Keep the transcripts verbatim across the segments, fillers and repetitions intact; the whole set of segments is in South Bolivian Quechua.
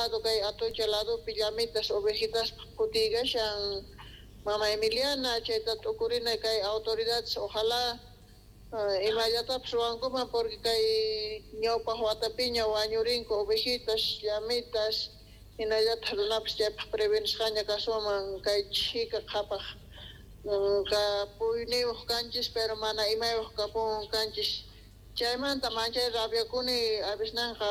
lado kay Atocha ladopi llamitas ovejitaspaj phutiykashan mama Emiliana, chayta t'ukurina kay autoridades ojalá imallatapis ruwankuman porque kay ñawpaq watapiña wañurinku ovejitas, llamitas, hinallataq runapis chaypaq prevenisqaña kasunman kay chhika qhapaq kapuyniyuq kanchis pero mana imayuq kapun kanchis chaymanta manchay rabiakuni avisnanqa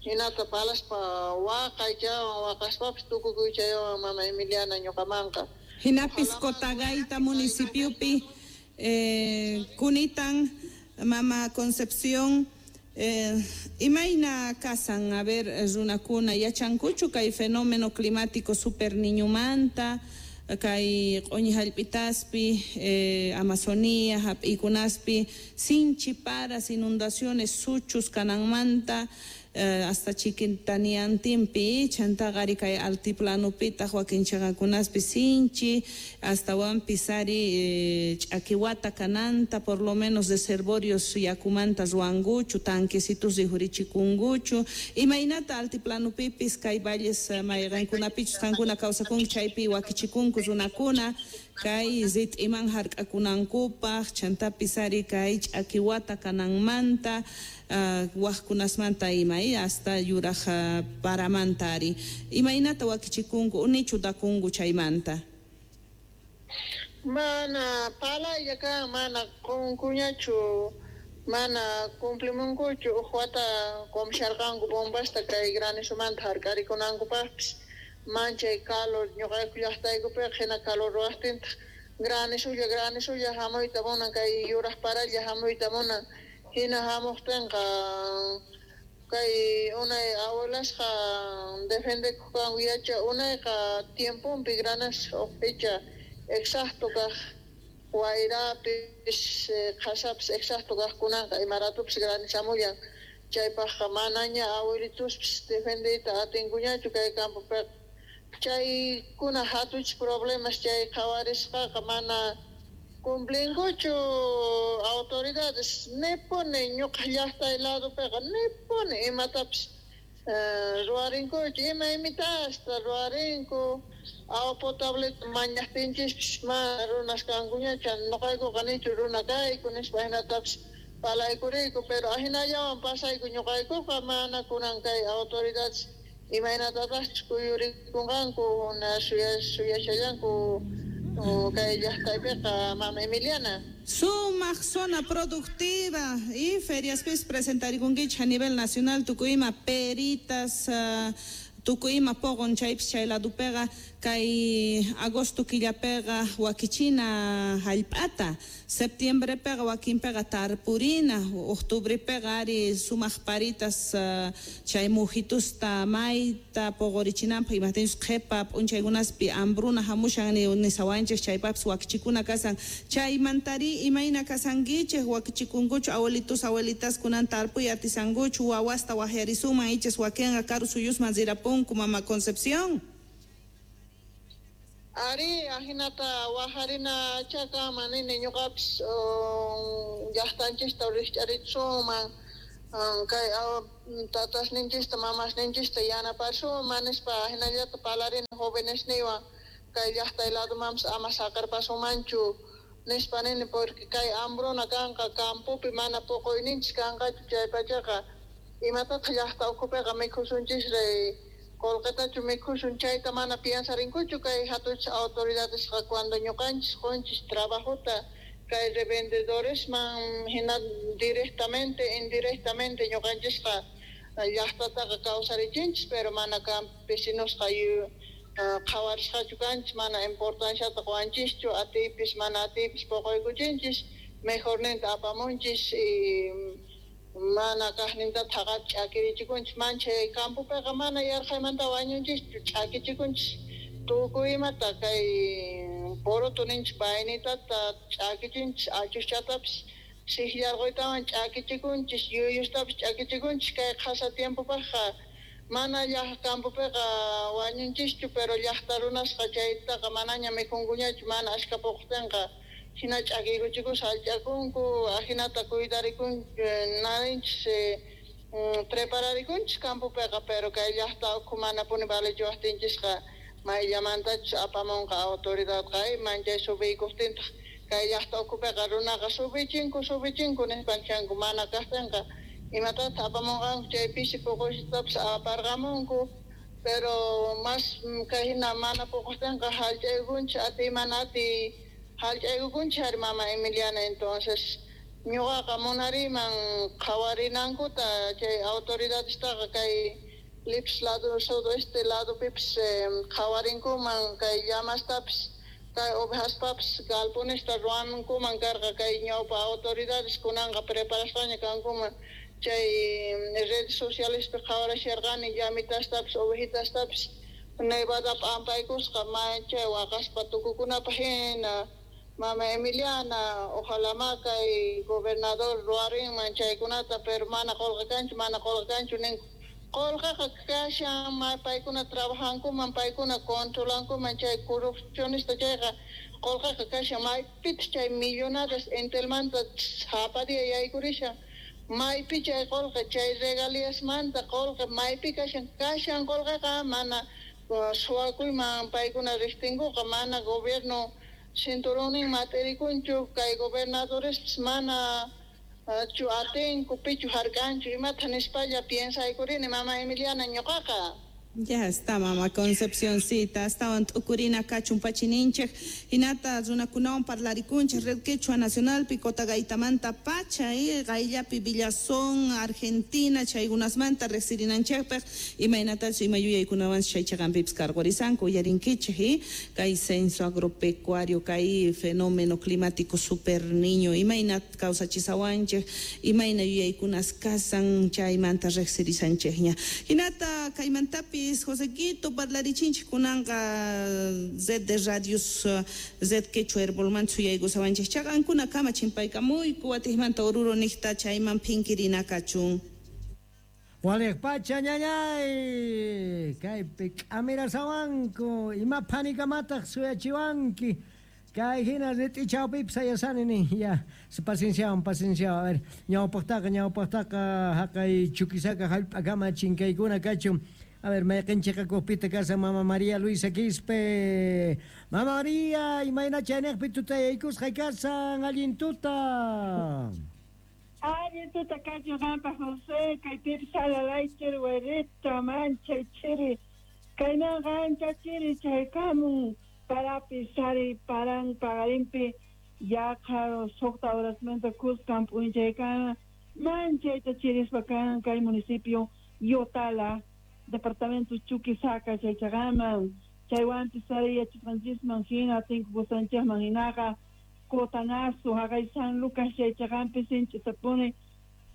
hinata palaspa waqay chaywan waqaspapis tukukuy chaywan mama Emiliana ñuqamanqa. Hinapis Cotagaita municipiopi eh, kunitan mama Concepción eh, imayna kasan a ver runakuna yachankuchu kay fenómeno climático super niñumanta kay q'uñi hallp'itaspi eh, Amazonía hap'ikunaspi sinchi paras inundaciones suchus kananmanta eh, hasta chikintaniantinpi chantaqa ari kay altiplanopitaq wakin chaqakunaspi sinchi astawanpis ari eh, ch'akiwata kananta por lo menos reservorios yakumanta ruwankuchu tanquecitos rikhurichikunkuchu imaynata altiplanopipis kay valles mayqankunapichus qankuna kawsakunki chaypi wakichikunku runakuna kay rit'iman hark'akunankupaq chantapis ari kay ch'akiwata kananmanta uh, wajkunasmanta ima hasta yuraj uh, paramanta ari imaynata wakichikunku unichu dakunku chaymanta. Mana palaylla kan mana qunkuñachu mana cumplimunkuchu uj wata qumsharqanku bombasta kay granizomanta hark'arikunankupaqpis manchay calor ñuqayku llaqtaykupiqa hina calor ruwaqtintaq granizulla granizulla hamuyta munan kay yuraj paralla hamuyta munan hina hamuqtinqa kay unay abuelasqa defendekuq kanku yacha unayqa tiemponpi granizo uj fecha exacto kaq wayrapis qhasapis exacto kaqkunanqa imaratupis granizamullan chaypaqqa manaña abuelituspis defendeyta atinkuñachu kay campopiqa chaykuna hatuchis problemas chay qhawarisqaqa mana cumplinkuchu autoridades nipuni ñuqa llaqtay ladopiqa nipuni imatapis ruwarinkuchu ima imitasta ruwarinku agua potable mañaqtinchispis mana runas kankuñachu ñuqaykuqa nichu runa kayku nispa hinatapis palaykuriyku pero ahinallawan pasayku ñuqaykuqa mana kunan kay autoridades imaynatataqchus kuyurikunqanku suyashallanku kay llaqtaypiqa mama Emiliana. Sumaq zona productiva y feriaspis presentarikunkichik a nivel nacional tukuy ima peritas uh, tukuy ima poqon chaypis chay ladupiqa kay agosto killapiqa wakichina hallp'ata septiembrepiqa wakinpiqa tarpurina octubrepiqa ari sumaq paritas uh, chay mujitusta mayta poqorichinanpaq imajtinchus qhipa p'unchaykunaspi hambruna hamushan nisawanchik chaypapis wakichikuna kasan chaymantari imayna kasankichik wakichikunkuchu abuelitos abuelitas kunan tarpuy atisankuchu wawasta waqyarisuman ichas wakinqa karu suyusman rirapunku mama Concepción. Ari ahinata wajarina chakaman nini ñuqapis llaqtanchista rikch'arichsuman kay tatasninchista mamasninchista yanaparsuman nispa hinallata palarina jovenesniwan kay llaqtay ladomanpis ama saqerpasumanchu nispa nini porque kay hambruna kanqa campopi mana puquyninchis kanqachu chaypachaqa imatataq llaqta ukhupiqa mikhusunchisri qolqetachu mikhusun chayta mana piensarinkuchu kay hatuchis autoridadesqa cuando ñuqanchis qunchis trabajota kay revendedoresman hina directamente indirectamente ñuqanchisqa llaqtataqa kawsarichinchis pero mana campesinosqa qhawarisqachu kanchis mana importanciata quwanchischu atiypis mana atiypis puquykuchinchis mejorninta apamunchis y mana kaqninta thaqata ch'akirichikunchis manchay campopiqa mana yarqaymanta wañunchischu ch'akichikunchis tukuy imata kay poroto ninchis vainitata ch'akichinchis achuschatapis siqllarquytawan ch'akichikunchis yuyustapis ch'akichikunchis kay qhasa tiempopaqqa mana llaq campopiqa wañunchischu pero llaqta runasqa chaytaqa manaña mikhunkuñachu mana ashka puqtinqa hina ch'akiykuchikus hallch'akunku ahinata kuydarikun narinchis Prepararikunchis campopiqa, pero kay llaqta ukhu manapuni valechiwaqtinchisqa mayllamantachus apamunqa autoridadqa manchay subiykuqtintaq kay llaqta ukhupiqa runaqa subichinku subichinku nispanchanku mana kaqtinqa imatataq apamunqanku chay pisi puqusitapas aparqamunku pero mas kay hina mana puquqtinqa hallch'aykunchis atiy mana atiy hallch'aykukunchis ari mama Emiliana. Entonces ñuqaqa munariman qhawarinankuta chay autoridadestaqa kay Lips lado sudoeste ladopipis qhawarinkuman kay llamastapis kay ovejaspapis galponesta ruwankuman karqa kay ñawpa autoridades kunanqa preparasqaña kankuman chay redes socialespi qhawarasharqani llamitastapis ovejitastapis nevada p'ampaykusqa manchay waqaspa tukukunapaq hina. Mama Emiliana, ojalá ma kay gobernador ruwarinman chaykunata, pero mana qolqe kanchu, mana qolqe kanchu ninku. Qolqeqa kashan, ma paykuna trabajankuman, paykuna controlankuman chay corrupcionista chayqa qolqeqa kashan, maypipis chay millonadas Entelmanta sapa día yaykurishan, maypi chay qolqe, chay regalíasmanta qolqe maypi kashan, kashan qolqeqa mana suwakuyman paykuna riqtinkuqa, mana gobierno cinturonin mat'irikunchu, kay gobernadorespis mana chu atinku pichu hark'anchu imata nispalla piensaykurini mama Emiliana ñuqaqa. Ya está, mama Concepcioncita, astawan t'ukurina kachun pachininchej, hinata runakunawan parlarikunchej Red Quechua Nacionalpi Cotagaitamanta pacha y qayllapi Villazón, Argentina, chaykunasmanta riqsirinanchejpaq imaynatachus ima yuyaykunawan chay chaqanpipis karqurisanku uyarinkichej y kay censo agropecuario, kay fenómeno climático super niño, imayna kawsachisawanchej, imayna yuyaykunas kasan chaymanta riqsirisanchejña. Hinata kaymantapi Josequito parlarichinchik kunanqa Red de Radios Red Quechua Herbolman suyaykusawanchik chaqankuna kama chimpaykamuyku watijmanta Oruro niqta chayman phinkirina kachun. Waliq pacha ñañay kaypi k'amirasawanku ima phanikamataq suyachiwanki kay hina rit'ichawpipis sayasani nin ya pacienciawan pacienciawan a ver ñawpaqtaqa ñawpaqtaqa haqay Chuquisaca hallp'akama chinkaykuna kachun. A ver, mayqinchiqakupita kasa Mama María Luisa Quispe. Mama María, imayna chaynejpi tutayaykusqa kasan, allin tuta. Allin tuta kachun qanpaq José, kaypipis salalaychir werita manchay chiri. Kaymanqa ancha chiri chaykamun parapi sari paran paqarinpi yaqa suqta horasmanta kuskan p'unchaykama manchayta chirispa kan kay municipio Yotala, departamento Chuquisaca chaychaqaman chaywanpis sari yachasqanchisman hina tinkukusanchikman hinaqa Cotanazo haqay San Lucas chaychaqanpi sinch'itapuni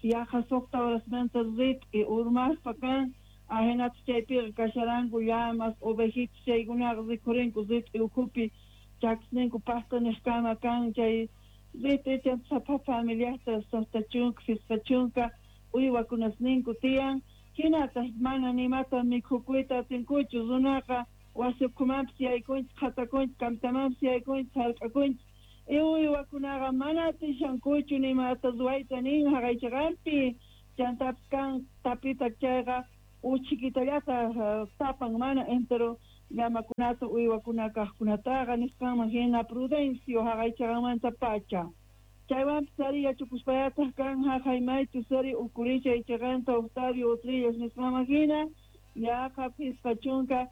yaqa suqta horasmanta rit'i urmaspa kan ahinata chaypiqa kasharanku llamas ovejitas chaykunaqa rikhurinku rit'i ukhupi chakisninku paqtaniqkama kan chay rit'i chanta sapa familiasta suqta chunka phisqa chunka uywakunasninku tiyan. Hinataq mana nimata mikhukuyta atinkuchu runaqa wasi ukhumanpis yaykunchis qhatakunchis kamtamanpis yaykunchis hark'akunchis y uywakunaqa mana atishankuchu nimata ruwayta nin haqaychaqanpi chantapis kan tapita chayqa uchikitallata tapan mana entero llamakunata uywakuna kaqkunataqa nisqanman hina Prudencio haqaychaqanmanta pacha. Chaywanpis ari yachakuspayataq kan haqay maychus ari ukurishay chaqanta Octavio Utrillas nisqanman hina yaqa phisqa chunka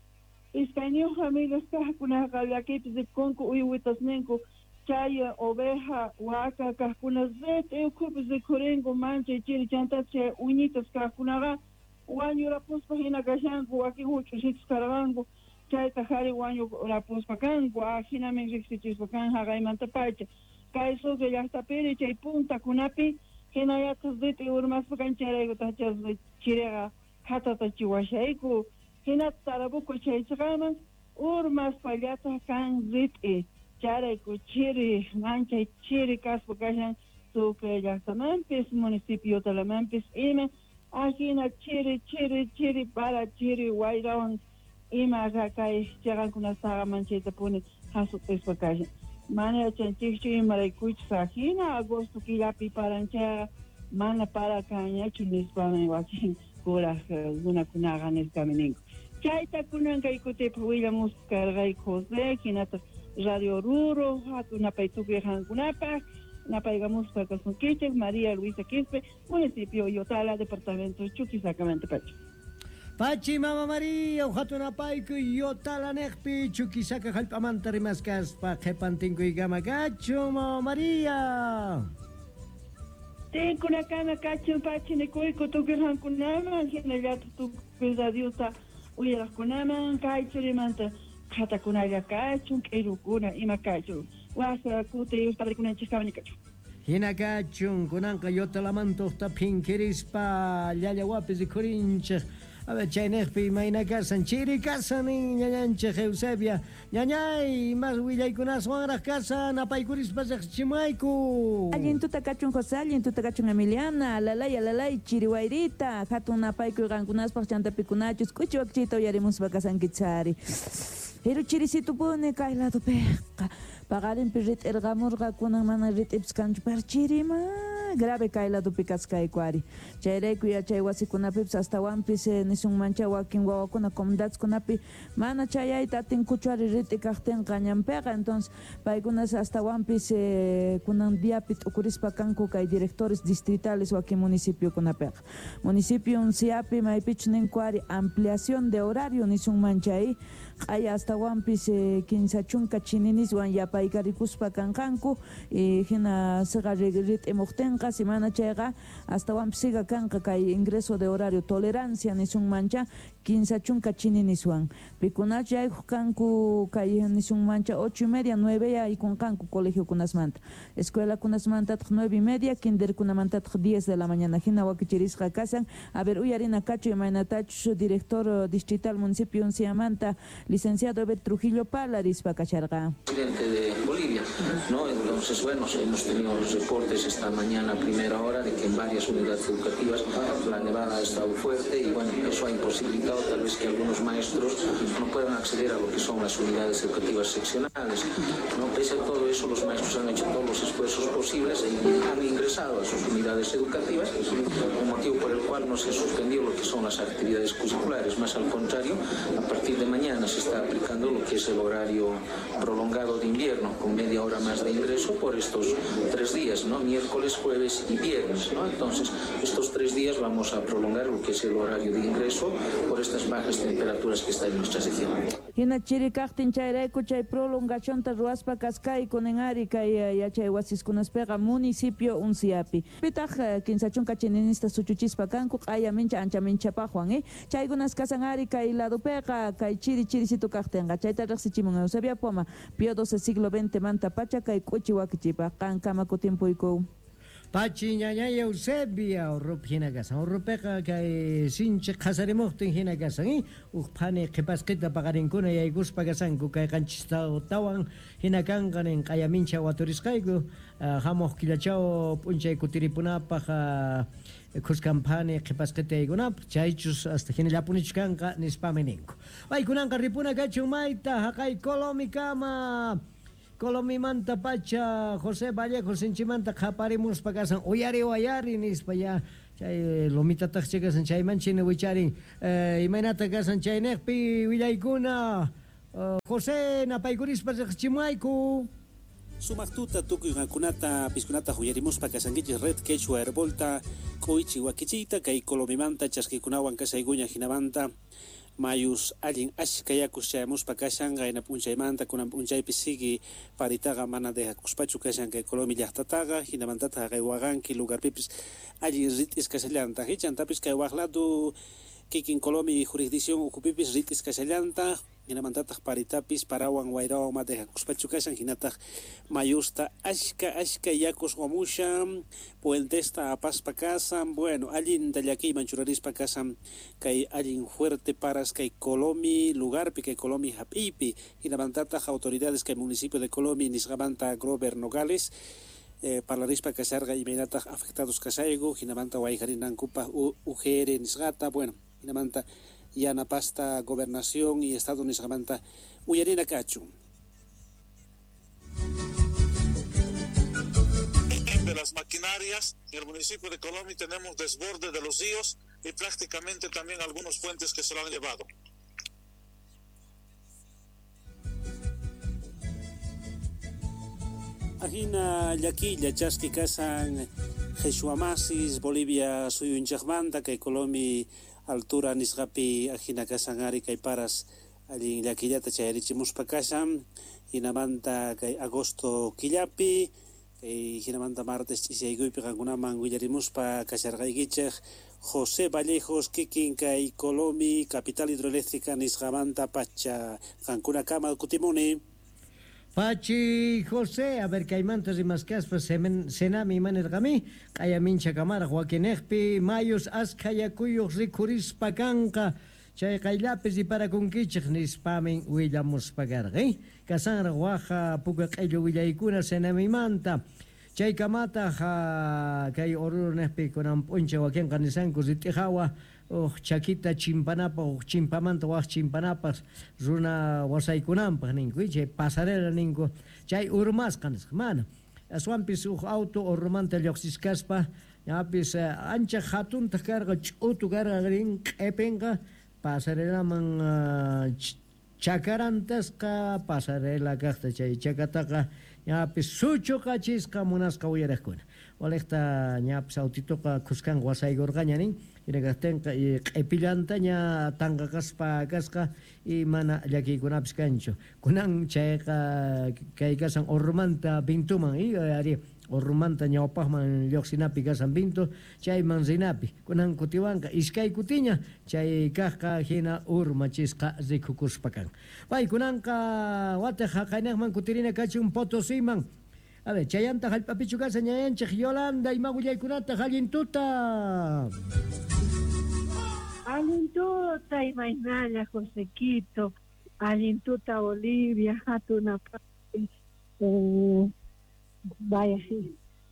iskayniyuq familias kaqkunaqa llakipis rikukunku uywitasninku chay oveja waka kaqkuna rit'i ukhupi rikhurinku manchay chiri chantapis chay uñitas kaqkunaqa wañurapuspa hina kashanku wakin huch'usitas karqanku chaytaq ari wañurapuspa kanku ahinamin riqsichispa kan haqaymanta pacha. Kay Sucre llaqtapiri chay puntakunapi hinallataq rit'i urmaspa kan chayraykutaq chiriqa qhatata chiwashayku hinata Tarabuco chaychaqaman urmaspallataq kan rit'i chayrayku chiri manchay chiri kaspa kashan Sucre llaqtamanpis municipio Yotalamanpis ima ahina chiri chiri chiri para chiri wayrawan ima kay chaqankunastaqa manchaytapuni hasut'ispa kashan. Mana yachanchikchu imaraykuchus ahina agosto killapi paranchayqa Mana para kanñachu nispami wakin kuraq runakunaqa nispami ninku. Chayta kunan kay kutipi willamuspa karqayku José, hinataq Radio Oruro, hatun napay tukuy qankunapaq, napaykamuspa kasunkichik María Luisa Quispe, municipio Yotala, departamento Chuquisaca pacha. Pachi Mama María, hatun napayku Yotala neqpi Chuquisaca jallp'amanta rimaskaspa qhipantinkuykama kachun Mama María. Tinkunakama kachun pachi nikuyku tukuy qankunaman hinallataq tukuy radiota uyaraqkunaman kay churimanta qhatakunalla kachun k'irukuna ima kachun wasa kuti padrikunanchik kachun. Hina kachun kunanqa Yotalamanta phinkirispa llallawapi rikhurinchik. A ver, chaynejpi imayna kasan, chiri kasan nin ñañanchik Eusebia. Ñañay, mas willaykunaswanraq kasan, apaykurispa riqchimayku. Allin tuta kachun José, allin tuta kachun Emiliana, alalay, alalay, chiri wayrita, hatun napaykuy qankunaspaq chantapikunachus, k'uchi wakchita uyarimuspa kasankichari. Pero chirisitupuni kay ladopiqa, paqarinpi rit'irqamurqa kunan mana rit'ipis kanchu, pero chirima grave kay ladopi kaskayku ari. Chayrayku yachay wasikunapipis astawanpis nisunmancha wakin wawakuna comunidadkunapi mana chayayta atinkuchu ari rit'i kaqtinqa ñanpiqa. Entonces paykunas astawanpis kunan diapi t'ukurispa kanku kay directores distritales wakin municipiokunapiqa. Municipio Unciapi maypichu ninku ari ampliación de horario nisunmancha q'aya astawanpis kinsa chunka chininiswan yapaykarikuspa kanqanku hina siqa rit'imuqtinqa simana chayqa astawanpis siga kanqa kay ingreso de horario tolerancia nisunmancha kinsa chunka chininiswan pikunachu yaykuq kanku kay nisunmancha ocho y media nueve yaykunqanku colegiokunasmanta escuelakunasmantataq nueve y media kinderkunamantataq diez de la mañana hina wakichirisqa kasan. A ver, uyarina kachu imaynatachus director distrital municipio Unciamanta licenciado Eber Trujillo Palarispa kacharqa. Presidente de Bolivia, ¿no? Entonces, bueno, hemos tenido los reportes esta mañana a primera hora de que en varias unidades educativas la nevada ha estado fuerte y bueno, eso ha imposibilitado tal vez que algunos maestros no puedan acceder a lo que son las unidades educativas seccionales, ¿no? Pese a todo eso, los maestros han hecho todos los esfuerzos posibles y han ingresado a sus unidades educativas, un motivo por el cual no se ha suspendido lo que son las actividades curriculares, más al contrario, a partir de mañana se está aplicando lo que es el horario prolongado de invierno, con media hora más de ingreso por estos tres días, ¿no? Miércoles, jueves y viernes, ¿no? Entonces, estos tres días vamos a prolongar lo que es el horario de ingreso por estas bajas temperaturas que está en nuestra región. Hina chiri kaqtin chayrayku chay prolongacionta ruwaspa kaskayku nin ari kay yachay wasiskunaspiqa municipio Unciapi. Pitaq kinsa chunka chininista suchuchispa kanku q'aya mincha ancha minchapaqwan eh chaykunas kasan ari kay ladopiqa kay chiri chirisitu kaqtinqa chayta riqsichimun Eusebia Poma Pío doce siglo veinte manta pacha kay k'uchi wakichipaq qankama kutimpuyku. Pachi ñañay Eusebia urrupi hina kasan urrupiqa kay sinchi qhasarimuqtin hina kasan uq phani qhipasqita paqarinkuna yaykuspa kasanku kay qanchis tawan hina kanqa nin q'aya mincha waturisqayku hamuq killachaw p'unchay kutiripunapaq khuskan phani qhipasqita yaykunapaq chaychus hasta hinallapunichu kanqa nispami ninku. Paykunanqa ripuna kachun mayta haqay Colomikama. Colomimanta pacha José Vallejo sinchimanta qhaparimuspa kasan uyari wayari nispa ya chay lomitataq kasan chayman china wicharin imaynata kasan chaynejpi willaykuna José napaykurispa riqchimayku. Sumaq tuta tukuy qankunata piskunata uyarimuspa kasankichis Red Quechua Herbolta k'uychi wakichiyta kay Colomimanta chaskikunawan kasaykuña hinamanta mayus allin ashka yakus chayamuspa kashan qayna p'unchaymanta kunan p'unchaypi sigui paritaqa mana dejakuspachu kashan kay Colomi llaqtataqa hinamantataq haqay waqanki lugarpipis allin rit'is kashallantaq chantapis kay waq lado kikin Colomi jurisdicción ukhupipis rit'is kashallantaq hinamantataq paritapis parawan wayrawan ma dejakuspachu kashan hinataq mayusta ashka ashka yakus wamushan puentesta apaspa kasan bueno allinta llakiyman churarispa kasan kay allin fuerte paras kay Colomi lugarpi kay Colomi hap'iypi hinamantataq autoridades kay municipio de Colomi nisqamanta Grover Nogales eh, parlarispa kasharqa imaynataq afectados kasayku hinamanta wayqarinankupaq U G R nisqata bueno hinamanta yanapasta gobernación y estado nisqamanta uyarina kachu. las maquinarias. En el municipio de Colomi tenemos desborde de los ríos y prácticamente también algunos puentes que se lo han llevado. Ajina llakilla chaski kasan Jesuamasis, Bolivia suyunchaqmanta, kay Colomi altura nisqapi ajina kasan ari kay paras allin llakillata chayarichimuspa kasan, hinamanta kay agosto killapi, kay hinamanta martes ch'isiyaykuypi qankunaman willarimuspa kasharqaykichej José Vallejos kikin kay Colomi capital hidroeléctrica nisqamanta pacha qankunakama kutimuni. Pachi José, a ver, kaymanta rimaskaspa senami imanirqami, q'ayamincha kamaraq wakinejpi mayus askha yakuyuq rikhurispa kanqa, chay qayllapi riparakunkichik nispamin willamuspa karqa, eh? Kasanraq waja puka q'illu willaykuna senamimanta. Chay kamataq kay Oruro nejpi kunan p'unchay wakinqa nisanku rit'ijawa uj chakita chimpanapaq, uj chimpamanta waj chimpanapaq runa wasaykunanpaq ninku, chay pasarela ninku, chay urmasqa nisqa, mana. Aswanpis uj auto Orurumanta lluqsiskaspa, ñapis ancha hatuntaq karqa, ch'utu karqa rin q'ipinqa, pasarelaman chakarantasqa, pasarela kaqta chay chakataqa ñapis suchuqachisqa munasqa uyaraqkuna. Walejta ñapis autitoqa khuskan wasaykurqaña nin, hinakaqtinqa q'ipillantaña tanqaqaspa kasqa y mana llakiykunapis kanchu. Kunan chayqa kay kasan Orurumanta Vintuman, y ari Orurumanta ñawpaqman lluqsinapi kasan Vintu, chayman rinapi. Kunan kutiwanqa iskay kutiña chay kaqqa hina urmachisqa rikukuspa kan. Pay kunanqa wataq haqaynaqman kutirina kachun Potosiman. A ver, chayanta hallp'apichu kasan ñayanchik Yolanda, ima willaykunataq allin tuta. Allin tuta imaynalla Josequito, allin tuta Bolivia, hatunapaqpi, eh, vaya,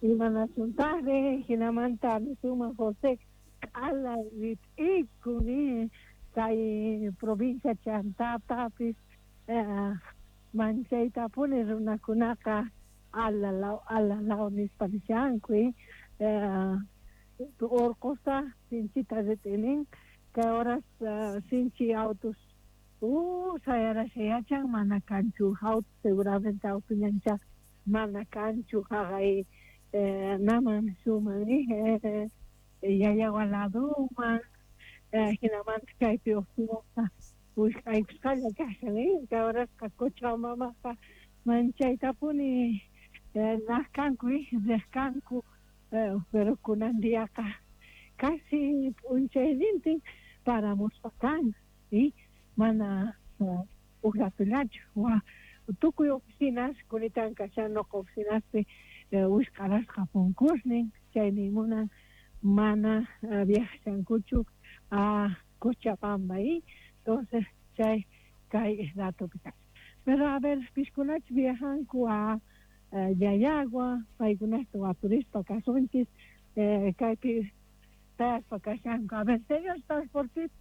imanasuntaqri, hinamanta nisuman José, q'ala rit'ikuni, kay provincia chantatapis, eh, manchaytapuni runakunaqa alalaw, alalaw nispa nishanku, eh, orqosta sinchita rit'inin, kay horas uh, sinchi autos uh, sayarashayachan mana kanchu auto, seguramente auto ñancha mana kanchu haqay eh, naman suman eh, Llallagua laduman eh, hinamanta kaypi uqtinasqa wisq'aykusqalla kashan, eh, kay horasqa Cochabambaqa manchaytapuni eh, naqkanku, eh, riqkanku, eh, pero kunan diaqa casi p'unchaynintin paramuspa kan, y mana uh, uj ratullachu wa tukuy oficinas kunitan kashan noqa oficinaspi eh, wisq'arasqa punkusnin, chaymi munan mana uh, viajashankuchu a Cochabamba, y entonces chay kay ratupi kashan. Pero a ver, piskunach viajanku a uh, Llallagua, paykunasta waturispa kasunchis, eh, kaypi tayaspa kashanku. A ver, señor transportista,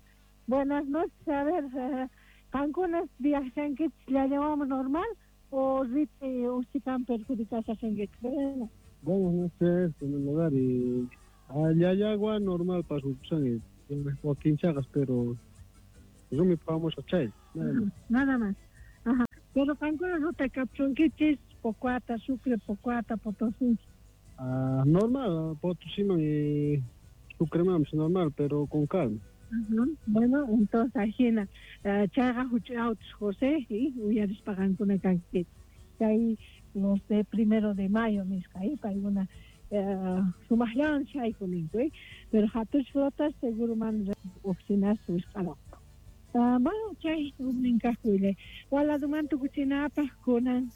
buenas noches. A ver, eh, qankunas viajankichis Llallawaman normal o riti uchikan perjudicashasankichis? Buenas noches, en primer lugar, y a Llallagua normal pasupusani, wakinchaqas, pero rumi pamosqa chay, nada más. Nada más. Ajá. Pero qankunas ruta kapchunkichis Pocoata, Sucre, Pocoata, Potosí. Ah, normal, Potosí y Sucre normal, pero con calma. Uh-huh. Bueno, entonces ajina uh, chayqa huch'uy autos José y uyarispa qankuna kankichis. Chay los de primero de mayo nisqa, eh, paykuna uh, sumaqllawan chayku ninku, eh, pero hatuch flotas seguro man oficinas wisq'aranku. Uh, bueno, chay ujnin kaq willay. Waladumanta tukuchinapaq kunan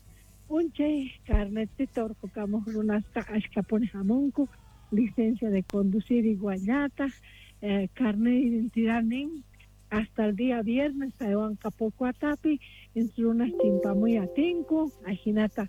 p'unchay carnetita urqukamuq runasqa ashkhapuni hamunku, licencia de conducir iguallataq, eh, carnet de identidad nin hasta el día viernes saywanqa Pocoatapi, runas chimpamuy atinku, ajinata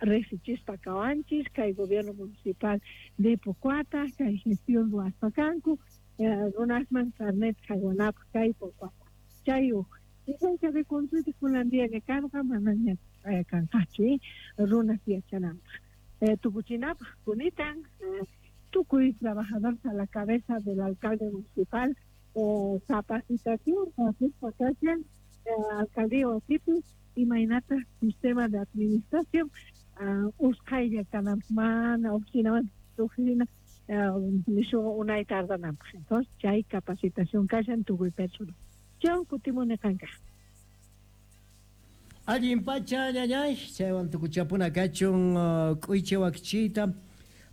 riqsichispa kawanchis kay gobierno municipal de Pocoata, kay gestión ruwaspa kanku, eh, runasman carnet haywanapaq kay Pocoata. Chay uj licencia de conducir kunan día karqa manaña kanqachu, eh, runas yachananpaq. eh, tukuchinapaj kunitan eh, tukuy trabajadores a la cabeza del alcalde municipal eh, capacitación kashan eh, alcaldía wasipi imaynata sistema de administración uh, usqhaylla kananpaq mana oficinaman oficina nishu unay tardananpaq. Entonces chay capacitación kashan tukuy personal. Chau kutimuni qanka. Allin pacha ñañay, chaywan tukuchapuna kachun k'uychi wakichiyta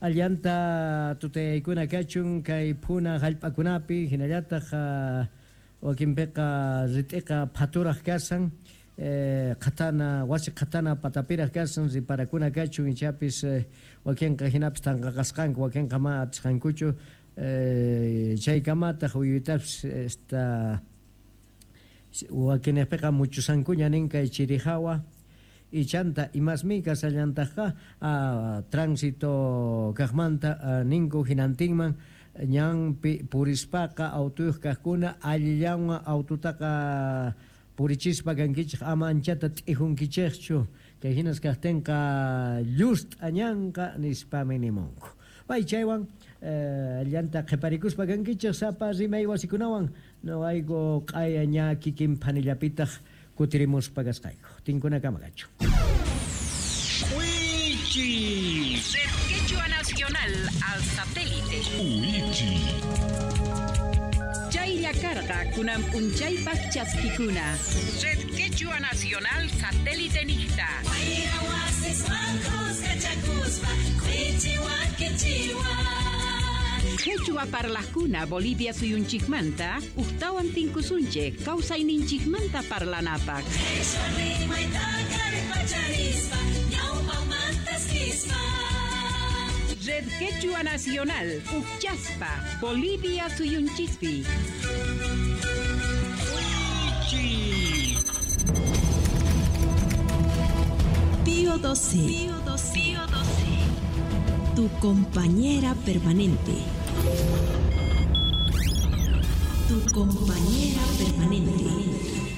allanta tutayaykuna kachun kay phuna hallp'akunapi hinallataq wakinpiqa rit'iqa phaturaq kasan eh, qhatana wasi qhatana patapiraq kasan riparakuna kachun ichapis eh, wakinqa hinapis tanqaqasqanku wakinqa ma atisqankuchu eh, chaykamataq uyuytapis esta wakinpiqa muchusankuña nin kay chirihawa ichanta imasmi kasallantaqqa tránsito kaqmanta ninku hinantinman ñanpi purispaqa autuyuq kaqkuna allillanwan aututaqa purichispa kankichik ama anchata t'ijunkichikchu kay hinas kaqtinqa llust'a ñanqa nispami nimunku. Pay chaywan llanta qhiparikuspa kankichik sapa rimay wasikunawan noqayku q'aya ña kikin phanillapitaq kutirimuspa kasqayku. Tinkunakama kachu. Uichi. Red Quechua Nacional al satélite. Uichi. Chaylla karqa kunan p'unchaypaq chaskikuna. Red Quechua Nacional satélite niqta. Quechua parlajkuna Bolivia suyunchikmanta uqtawan tinkusunchik kawsayninchikmanta parlanapaq. Red Quechua Nacional Uqchaspa Bolivia suyunchikpi. Pío doce. Pío doce. Pío doce. Tu compañera permanente. Tu compañera permanente.